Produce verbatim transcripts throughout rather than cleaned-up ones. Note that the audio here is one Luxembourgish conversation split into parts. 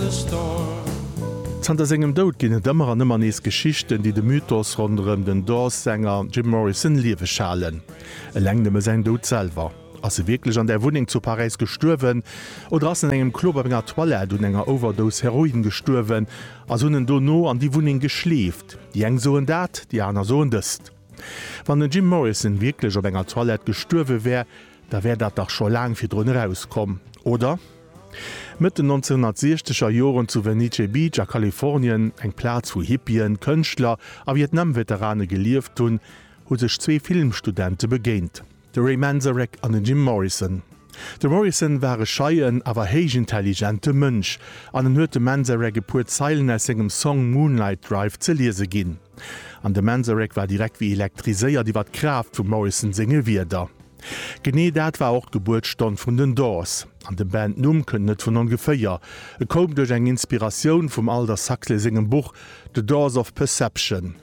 the storm. Zanter sengem Doud ginn et ëmmer an ëmmer nees Geschichten, déi de Mythos ronderëm den Doors-Sänger Jim Morrison lieweg halen. Eleng nëmme säin Doud selwer. Ass e wierklech an där Wunneng zu Paräis gestuerwen oder ass en an engem Club op enger Toilette un enger Overdose Heroin gestuerwen a se hunn en dono an déi Wunneng geschleeft? Déi eng soen dat, déi aner soen dëst. Wann den Jim Morrison wierklech op enger Toilette gestuerwe wär, da wär dat dach scho laang virdrun erauskomm, oder? Mëtt den nonzénhunnertsiechzeger Joren zu Venice Beach a Kalifornien, eng Plaz wou Hippien, Kënschtler a Vietnam-Veterane gelieft hunn, hu sech zwee Filmstudente begéint, de Ray Manzarek an den Jim Morrison. De Morrison war e scheien, awer héichintelligente Mënsch an en huet dem Manzarek e puer Zeilen aus sengem Song Moonlight Drive ze liese ginn. An de Manzarek war direkt wéi elektriséiert iwwer d'Kraaft vum Morrison senge Wierder. Genee dat war och d'Gebuertsstonn vun den Doors. An de Bandnumm kënnt net vun ongeféier, e koum duerch eng Inspiratioun vum Aldous Huxley sengem Buch The Doors of Perception.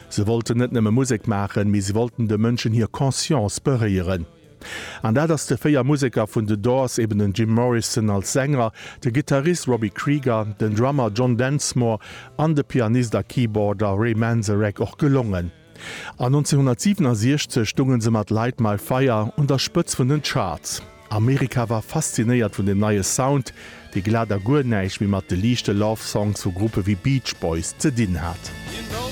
Se wollten net nëmme Musek maachen, mee se wollten de Mënschen hir Conscience beréieren. An dat ass de véier Museker vun The Doors, eben den Jim Morrison als Sänger, de Gittarist Robbie Krieger, den Drummer John Densmore an de Pianist a Keyboarder Ray Manzarek och gelongen. An nonzénhunnertsiwenosiechzeg stounge se mat Light My Fire un der Spëtz vun den Charts. Amerika war faszinéiert vun dem neie Sound, dee glat a guer näischt méi mat de liichte Love Songs vu Gruppe wéi Beach Boys ze dinn hat. You know